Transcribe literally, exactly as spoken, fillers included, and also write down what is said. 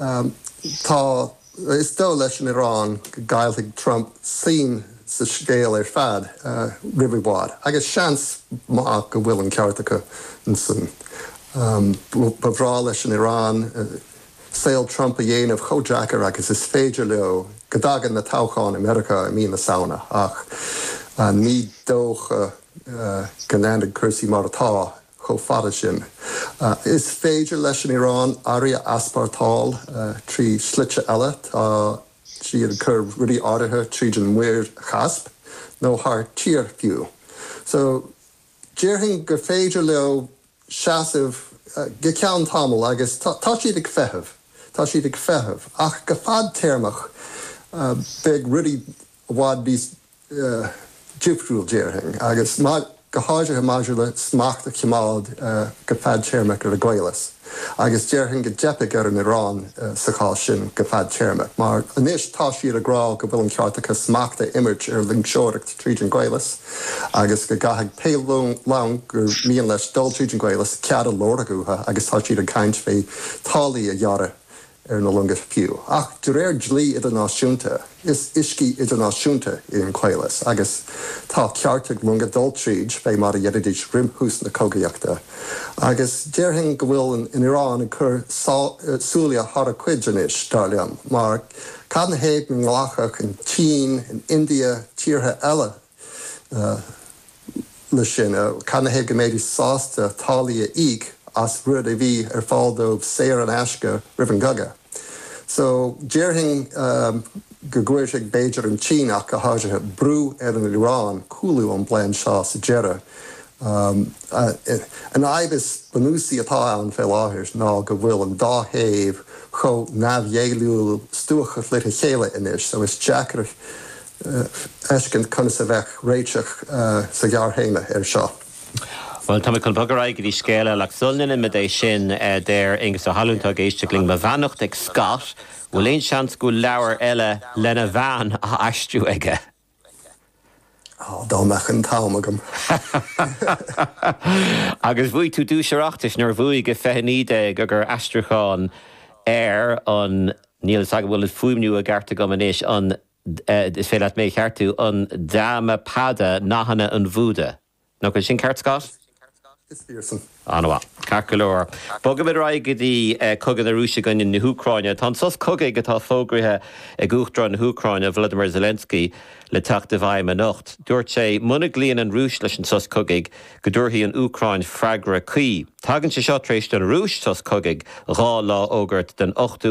Tá is dóigh leis an Iaráin go gcaillfidh Trump suim sa scéal ar fad roimh i bhfad, agus seans maith go bhfuil an ceart acu ansan. Ba bhreá leis an Iaráin saol Trump a dhéanamh chomh deacair agus is féidir leo go dtagann na toghcháin i Meiriceá i mí na Samhna, ach ní dócha go leanfaidh cúrsaí mar atá chomh fada sin. Is féidir leis an Iaráin earraí a easpórtáil trí shlite eile, tá siad ag cur rudaí áirithe tríd an Muir Chaisp nó thar tír fiú. So déarfainn gur féidir leo seasamh go ceann tamaill agus tá siad ag feitheamh, tá siad ag feitheamh, ach go fadtéarmach beidh rudaí i bhfad níos difriúil déarfainn agus go háirithe maidir le smacht a choimeád go fadtéarmach ar an gcaolas. Agus déarfainn go dteipfidh ar an Iaráin sa chás sin go fadtéarmach, mar anois tá siad ag rá go bhfuil an ceart acu smacht a imirt ar loingseoireacht tríd an gcaolas agus go gcaithfidh pé long gur mian leis dul tríd an gcaolas cead a lorg uathu agus tá siad ag caint fé táillí a ghearradh ar na longa fiú. Ach de réir dlí idirnáisiúnta, is uiscí idirnáisiúnta é an caolas agus tá ceart ag longa dul tríd fé mar a dhéanaidís roimh thús na cogaíochta. Agus déarfainn go bhfuil an Iaráin ag cur súile thar a cuid anois, dar liom, mar cad 'na thaobh go nglacfadh an tSín, an India, tíortha eile leis sin? Cad 'na thaobh go mbeidís sásta táillí a íoc as rud a bhí ar fáil dóibh saor in aisce roimh an gcogadh? So déarfainn go gcuirfidh b'fhéidir an tSín ach go háirithe brú ar an Iaráin cúlú ón bplean seo sa deireadh. An fhadhb is bunúsaí atá ann fé láthair ná go bhfuil an dá thaobh chomh neamhghéilliúil stuacach lena chéile anois so is deacair a fheiscint conas a bheadh réiteach sa ghearrthéarma air seo. Bhuel, tá mé chun bogadh ar aghaidh go dtí scéal eile ach sula ndéanaimid é sin, deir Aengus Ó hAlmhain atá ag éisteacht linn, mo bheannacht ag Scott, bhfuil aon seans go bhfuil leabhar eile lena bhean á aistriú aige? Á, dá mbeadh an t-am agam. Agus bhuaigh tú duais Oireachtais nuair a bhuaigh i fiche naoi déag agur aistriúchán ar an, níl fhios agam bhfuil an fuaimniú i gceart agam anois, an, is féidir leat mé a cheartú, an Dhammapada, Nathanna an Bhúda. Nach bhfuil sin ceart, Scott? Is fíor san. An-mhaith. Ceart go leor. Bogaimid ar aghaidh go dtí cogadh na Rúise i gcoinne na hÚcráine. Tá an sos cogaidh atá fógraithe ag Uachtarán na hÚcráine, Volodymyr Zelensky, le teacht i bhfeidhm anocht. Dúirt sé muna gcloíonn an Rúis leis an sos cogaidh go dtabharfaidh an Úcráin freagra cuí. Tagann sé seo tar éis don Rúis sos cogaidh dhá lá a fhógairt den ochtú